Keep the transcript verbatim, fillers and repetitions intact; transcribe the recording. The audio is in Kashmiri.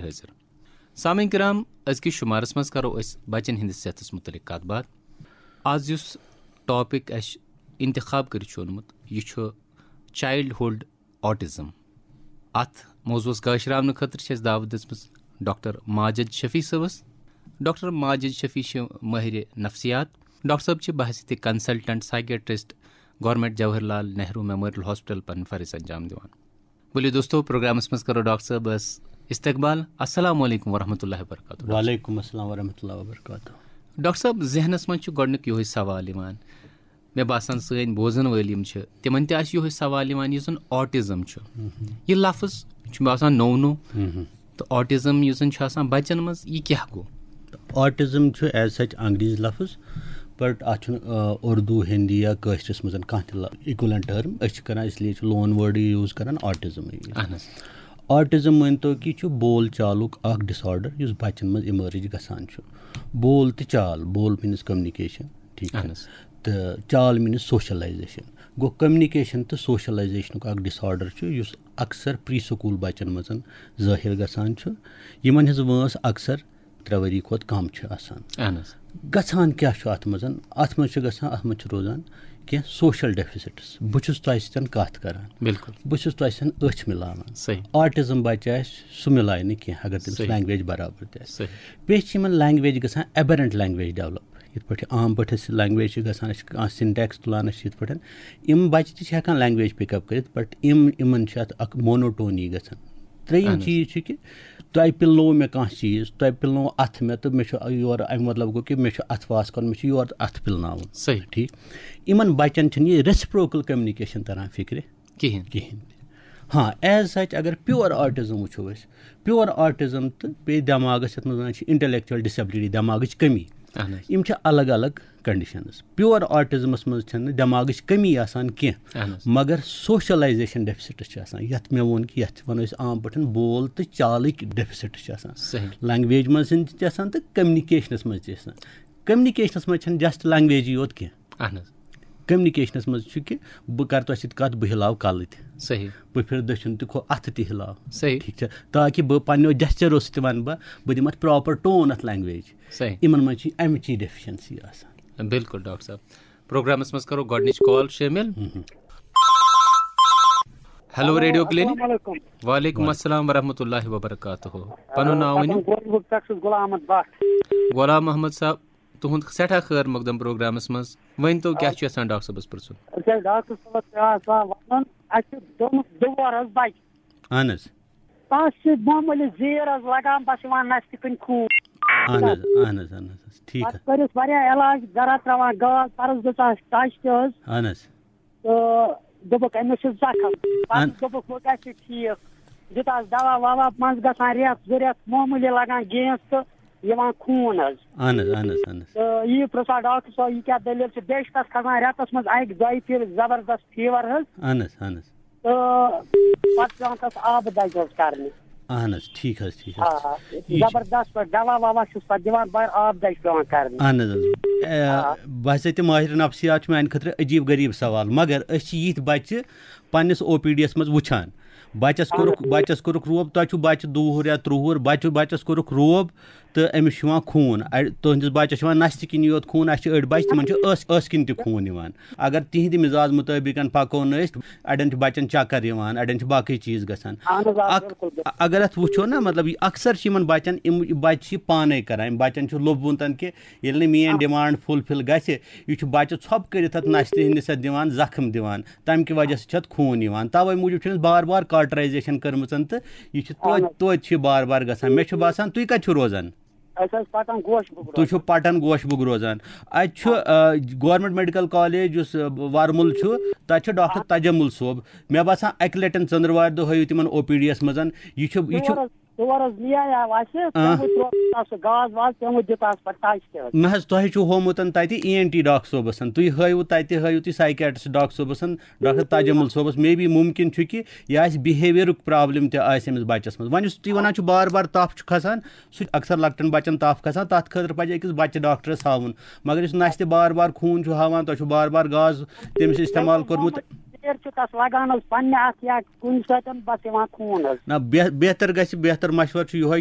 حٲضِر۔ سامعیٖن کرام، أزکِس شُمارس منٛز کرو أسۍ بچن ہٕنٛدِس صحتس مُتعلق کتھ باتھ۔ آز یُس ٹاپک اَسہِ انتخاب کٔرِتھ چھُ اوٚنمُت، یہِ چھُ چایلڈہُڈ آٹزم۔ اتھ موضوعس گٲشراونہٕ خٲطرٕ چھِ اَسہِ دعوت دِژمٕژ ڈاکٹر ماجد شفیع صٲبس۔ ڈاکٹر ماجد شفیع چھِ مٲہِرِ نفسیات۔ ڈاکٹر صٲب چھِ بحیثیت consultant psychiatrist government Jawahar Lal Nehru memorial hospital پنٕنۍ فرٲیض انجام دِوان۔ ؤلِو دوستو، پروگرامس منٛز کرو ڈاکٹر صٲبس استقبال۔ السلام علیکم ورحمۃ اللہ وبرکاتہ۔ وعلیکم السلام ورحمۃ اللہ وبرکاتہ۔ ڈاکٹر صٲب، ذہنس منٛز چھُ گۄڈٕنیُک یِہوٚے سوال یِوان، مےٚ باسان سٲنۍ بوزن وٲلۍ یِم چھِ، تِمن تہِ آسہِ یِہوٚے سوال یِوان، یُس زن آٹزم چھُ۔ یہِ لفظ چھُ مےٚ باسان نوٚو نوٚو۔ تہٕ آٹزم یُس زن چھُ آسان بچن منٛز، یہِ کیٛاہ گوٚو؟ آٹزم چھُ ایز سچ انگریزی لفظ، بٹ اتھ چھُنہٕ، آ، اردو، ہندی یا کٲشرِس منٛز کانٛہہ تہِ اِکولنٹ ٹرم۔ أسۍ چھِ کران، اس لیے چھُ لون ورڈٕے یوٗز کران، آٹزم۔ اہن حظ۔ آٹزم مٲنۍ تو کہِ چھُ بول چالُک اکھ ڈس آرڈر یُس بچن منٛز ایمرج گژھان چھُ۔ بول تہٕ چال، بول مینز کمنیکیشن، ٹھیٖک چھا؟ اہن حظ۔ تہٕ چال مینز سوشلائزیشن۔ گوٚو، کمنیکیشن تہٕ سوشلائزیشنُک اکھ ڈس آرڈر چھُ یُس اکثر پری سکول بچن منٛز ظٲہِر گژھان چھُ، یِمن ہٕنٛز وٲنٛس اکثر ترٛےٚ ؤری کھۄتہٕ کم چھِ آسان۔ اہن حظ۔ گژھان کیٛاہ چھُ اتھ منٛز؟ اتھ منٛز چھُ گژھان، اتھ منٛز چھِ روزان کینٛہہ سوشل ڈیفیسٹس۔ بہٕ چھُس تۄہہِ سۭتۍ کتھ کران، بِلکُل۔ بہٕ چھُس تۄہہِ سۭتۍ أچھ مِلاوان۔ صحیح۔ آٹزم بچہِ آسہِ، سُہ مِلایہِ نہٕ کینٛہہ اگر تٔمِس صحیح۔ لینگویج برابر تہِ آسہِ۔ صحیح۔ بیٚیہِ چھِ یِمن لینگویج گژھان ایبرنٹ لینگویج ڈیولپ۔ یِتھ پٲٹھۍ عام پٲٹھۍ أسۍ لینگویج چھِ گژھان، أسۍ چھِ کانٛہہ سِنٹیکس تُلان، أسۍ چھِ یِتھ پٲٹھۍ، یِم بچہِ تہِ چھِ ہٮ۪کان لینگویج پِک اپ کٔرِتھ، بٹ یِم، یِمن چھِ اتھ اکھ مونوٹونی گژھان۔ ترٛیٚیِم اہن حظ۔ چیٖز چھُ کہِ تۄہہِ پِلنوو مےٚ کانٛہہ چیٖز، تۄہہِ پِلنوو اَتھٕ مےٚ، تہٕ مےٚ چھُ یورٕ، اَمہِ مطلب گوٚو کہِ مےٚ چھُ اَتھٕ واس کَرُن، مےٚ چھُ یورٕ اَتھٕ پِلناوُن۔ صحیح۔ ٹھیٖک۔ یِمَن بَچَن چھَنہٕ یہِ ریسپروکل کمنیکیشن تَران فِکرِ کِہیٖنۍ۔ کِہیٖنۍ۔ ہاں، ایز سچ اگر پیور آٹزم وٕچھو أسۍ، پیور آٹزم تہٕ بیٚیہِ دٮ۪ماغَس، یَتھ منٛز وَنان چھِ انٹلیکچوَل ڈِسیبلٹی، دٮ۪ماغٕچ کٔمی، اہن حظ۔ یِم چھِ الگ الگ کنڈیشنز۔ پیور آٹزمس منٛز چھنہٕ دٮ۪ماغٕچ کٔمی آسان کینٛہہ، اہن حظ۔ مگر سوشلائزیشن ڈیفیسٹس چھِ آسان، یتھ مےٚ ووٚن کہِ یتھ چھِ ونو أسۍ عام پٲٹھۍ بول تہٕ چالٕکۍ ڈیفیسٹس چھِ آسان۔ صحیح۔ لینگویج منٛز تہِ چھِ آسان تہٕ کمنیکیشنس منٛز تہِ چھِ آسان۔ کمنیکیشنس منٛز چھنہٕ جسٹ لینگویجی یوت کینٛہہ۔ اہن حظ۔ کمنیکیشنس منٛز چھُ کہِ بہٕ کرٕ تۄہہِ سۭتۍ کتھ، بہٕ ہلاو کلہٕ تہِ۔ صحیح۔ بہٕ پھِرٕ دٔچھُن تہِ کھو، اتھٕ تہِ ہلاو۔ صحیح۔ ٹھیٖک چھا؟ تاکہِ بہٕ پننیو جسچرو سۭتۍ ونہٕ بہٕ، بہٕ دِمہٕ اتھ پراپر ٹون اتھ لینگویج۔ صحیح۔ یِمن منٛز چھِ امچی ڈیفیشنسی آسان۔ بِلکُل ڈاکٹر صٲب، پروگرامس منٛز کرو گۄڈٕنِچ کال شٲمِل۔ Hello, radio clinic. السلام علیکم۔ وعلیکم السلام ورحمۃ اللہ وبرکاتہ۔ پنُن ناو ؤنِو۔ پٹن گوجبُک پٮ۪ٹھ چھُس غلام احمد بٹ۔ غلام محمد صٲب، تُہُنٛد سٮ۪ٹھاہ خٲر مقدم پروگرامس منٛز۔ ؤنۍ تو، کیٛاہ چھُ یژھان ڈاکٹر صٲبس پرژھُن؟ أسۍ ٲسۍ ڈاکٹر صٲبس پٮ۪وان سۄ ونُن، اَسہِ چھِ دوٚمُت دُوار حظ بچہِ۔ اہن حظ۔ تَس چھِ معموٗلی زیٖر حظ لگان، بس یِوان نستہِ کِنۍ خوٗن۔ اہن حظ، اہن حظ، اہن حظ، ٹھیٖک پتہٕ حظ۔ کٔرِس واریاہ علاج، گرا ترٛاوان گاز، پرس دِژ اَسہِ ٹچ تہِ حظ۔ اہن حظ۔ تہٕ دوٚپُکھ، أمِس چھِ زخم۔ پتہٕ اہن۔ دوٚپُکھ، وۄنۍ گژھِ ٹھیٖک۔ دیُت اَس دوا ووا، منٛزٕ گژھان رٮ۪تھ زٕ رٮ۪تھ، معموٗلی لگان گیس تہٕ یِوان خوٗن حظ۔ اہن حظ، اہن حظ، اہن حظ۔ تہٕ یہِ پرٛژھان ڈاکٹر صٲب، یہِ کیٛاہ دٔلیٖل چھِ؟ بیٚیہِ چھِ تَس کھسان رٮ۪تَس منٛز اَکہِ دۄیہِ پھِرِ زبردست فیٖور حظ۔ اہن حظ، اہن حظ۔ تہٕ پَتہٕ چھِ پٮ۪وان تَس آبہٕ دَجہِ حظ کَرنہِ۔ اہن حظ، ٹھیٖک حظ، ٹھیٖک حظ۔ آ، یہِ چھُ زبردست پٲٹھۍ دوا ووا چھُس پَتہٕ دِوان، مگر آبہٕ دَجہِ پٮ۪وان کَرنہِ۔ اہن حظ، حظ۔ اے، آ۔ بہٕ ہسا تہِ ماہر نفسیات چھُ میٛانہِ خٲطرٕ عجیٖب غریٖب سوال، مگر أسۍ چھِ یِتھۍ بَچہِ، پننِس او پی ڈی یس منٛز وٕچھان۔ بچس کوٚرُکھ، بچس کوٚرُکھ روب، تۄہہِ چھُو بچہِ دُوُہُر یا ترٛوُہُر، بچہِ، بچس کوٚرُکھ روب تہٕ أمِس چھُ یِوان خوٗن۔ اَ-، تُہنٛدِس بچس چھُ یِوان نستہِ کِنۍ یوت خوٗن، اَسہِ چھِ أڑۍ بچہِ، تِمن چھُ ٲس، ٲسہٕ کِنۍ تہِ خوٗن یِوان۔ اگر تِہنٛدِ مِزاز مُطٲبِقن پکو نہٕ أسۍ، اَڑٮ۪ن چھِ بچن چکر یِوان، اَڑٮ۪ن چھِ باقٕے چیٖز گژھان۔ اہن حظ، آ، اکھ، بِلکُل، بِلکُل۔ اگر اتھ وٕچھو نا، مطلب، یہِ اکثر چھِ یِمن بچن، یِم بچہِ چھِ یہِ پانے کران، یِم بچن چھُ لوٚبمُت کہِ ییٚلہِ نہٕ میٲنۍ آ۔ ڈیمانڈ فُلفِل گژھِ، یہِ چھُ بچہِ ژھۄپہٕ کٔرِتھ اتھ نستہِ ہٕنٛدِس اتھ دِوان، زخم دِوان۔ تَمہِ کہِ وجہ سۭتۍ چھُ اَتھ خوٗن یِوان۔ تَوَے موٗجوٗب چھِ أمِس بار بار cauterization کٔرمٕژ تہٕ یہِ چھِ توتہِ، اَہَن حظ۔ توتہِ چھِ یہِ بار بار گژھان۔ مےٚ چھُ باسان، تُہۍ کَتہِ چھِو روزان؟ أسۍ حظ پَٹَن گوش بُک تُہۍ چھِو روزان۔ پَٹَن گوش بُک روزان۔ اَتہِ چھُ، آ۔ آ، گورنمنٹ میڈیکل کالج یُس، آ، وَرمُل چھُ، تَتہِ چھُ ڈاکٹر آ۔ تجمل صٲب۔ مےٚ باسان، اَکہِ لَٹٮ۪ن ژٔنٛدٕروارِ دۄہ ہٲیِو تِمَن او پی ڈی یَس منٛز۔ یہِ چھُ، یہِ چھُ تور حظ، تور حظ نِیایاو اَسہِ، آ۔ تِمو ترٛوو تَس سُہ گاز واز، تِمو دیُت اَس پَتہٕ ٹَچ تہِ حظ۔ نہ حظ، تۄہہِ چھُو ہومُت تَتہِ ای این ٹی ڈاکٹر صٲبَس۔ تُہۍ ہٲیِو تَتہِ، ہٲیِو تُہۍ سائیکیٹرسٹ ڈاکٹر صٲبَس۔ ڈاکٹر تاجمل صٲبَس، مے بی مُمکِن چھُ کہِ یہِ آسہِ بِہیویَرُک پرابلم تہِ آسہِ أمِس بَچَس منٛز۔ وۄنۍ یُس تُہۍ وَنان چھِو بار بار تَپھ چھُ کھَسان، سُہ چھُ اکثر لۄکٹٮ۪ن بَچَن تَپھ کھَسان، تَتھ خٲطرٕ پَزِ أکِس بَچہِ ڈاکٹرَس ہاوُن۔ مگر یُس نَستہِ بار بار خوٗن چھُ ہاوان، تۄہہِ چھُو بار بار گاز تٔمِس استعمال کوٚرمُت۔ تیٚلہِ چھُ تَس لَگان حظ پنٛنہِ اَتھٕ یا کُنہِ سۭتۍ بَس یِوان خوٗن حظ۔ نہ، بہ-، بہتر گژھِ، بہتر مشورٕ چھُ یِہوٚے کہِ